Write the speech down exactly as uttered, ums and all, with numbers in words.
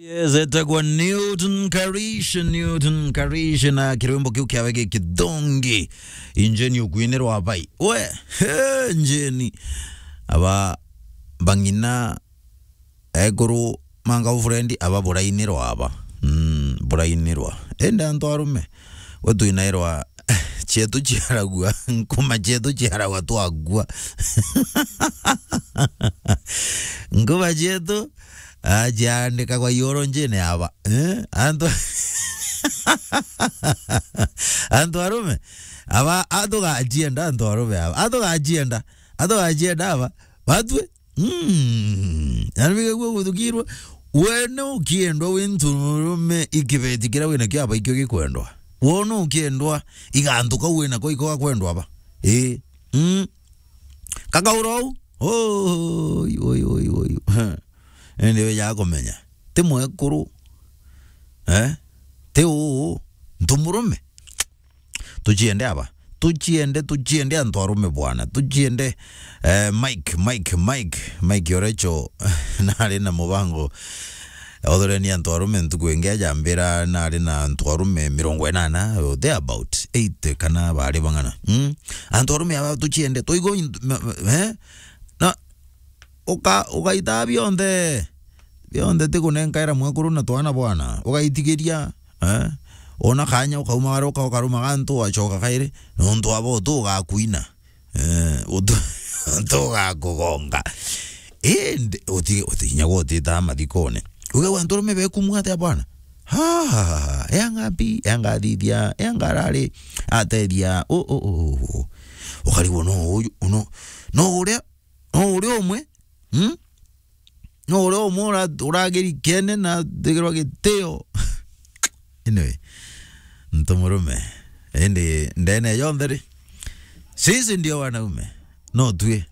Yes, etagwa Newton Karish, Newton Karish na kirwimbo kiu kiawe gi kithongi. Injeni ukuinirwa bai. We, he, njeni. Aba bang'ina ekuru manga friend aba burainirwa aba. Mm, burainirwa. Ende antu arume. We twinairwa cietu ciaragua, nkuma cietu ciaragwa twagua. Nkuma cietu, ah, ciandikagwa ioro njine aba. Eh? Antu, antu arume, aba, atugacienda antu arume aba. Atugacienda, atugacienda aba. Batue, Mm. Na nibigagua guthukirwa. Wene ukiendwa wi nturume ikibeti kiria wina kio aba ikio gikwendwa. Wona ukiendwa igantu kau wina ko iko gakwendwa aba. Ii. Mm. Kakaura u. Oi, oi, oi, oi. Indi weja kumenya. Ti mwekuru. Eh? Ti uu. Ntumurume. Tuciende aba. Tuciende, tuciende antu arume bwana. Tuciende, eh, Mike, Mike, Mike, Mike Orecho, nari na mubango. Othoreni antu arume ntuku ingi ajambira nari na antu arume mirongo inana, or thereabout eighty kana bari bang'ana. Mm? Antu arume aba tuciende, tuigo in-, ma-, ma-, eh? Na uka-, ugaita bionthe. Bionthe ti kunenkaira mwekuru na twana bwana. Ugaitigiria, eh? Ona kanya ukaumagaruka ukarumaga ntu wacoka kairi, nontu abo utu ugakuina. Eh, utu, utu ugakugonga. Indi uti-, utinyagwa utita mathikone. Uge antu arume bekumua atia bwana? Ha, ha, ha, ha. Eanga mbi, eanga thithia, eanga arari, atethia, u, u, u, u, u. Ukarigwo no uyu, no, no uria No uria umwe, mm? No uria umwe ura-, urageri kene na thigirwa gitio. Anyway, ntu murume. Indi ndene yonthe ri, sisi ndio wanaume. No tue.